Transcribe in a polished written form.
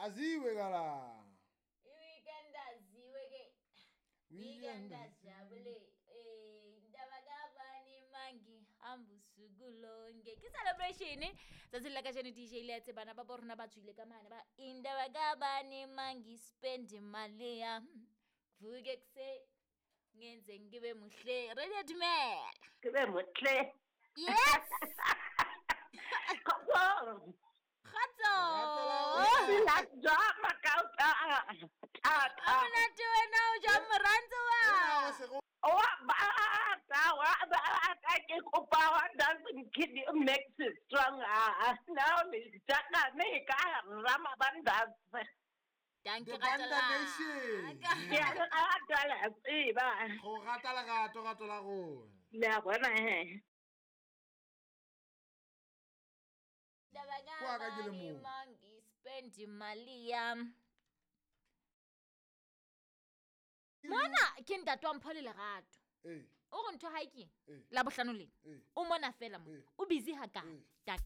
Aziwe kala. I-weekend aziwe ke. Weekend ajabule. Eh, indaba kabani mangihamba usuku lonke. Ke celebration tsatsing la kajeno DJ le a tsebana ba bo rona ba tswile ka mane ba indaba kabani mangispend imali yami. Vuke ekuseni ngenze ngibe muhle. Radio dumela. Ke be motle. Yes. Kgotso. Kgotso. Phela jwang makauta? Ha monate wena o jwang morantso wa? Wa bata, wa bata ke kopa wa dancing kid makes it strong. Now le jaka me ka rama bandas. Danke The Banda Nation. Ke a le rata le a tseba. Go rata lerato rato la rona. Le a bona he. Indaba Kwa ka ke le kabani mong. mangispend imali yami. Mona ke ntate wa Mpho le Lerato. Ee. O re ntho ha e keng? Ee. La bohlano lena. Ee. O mona fela mo. Ee. O busy hakae? Ee. Tak.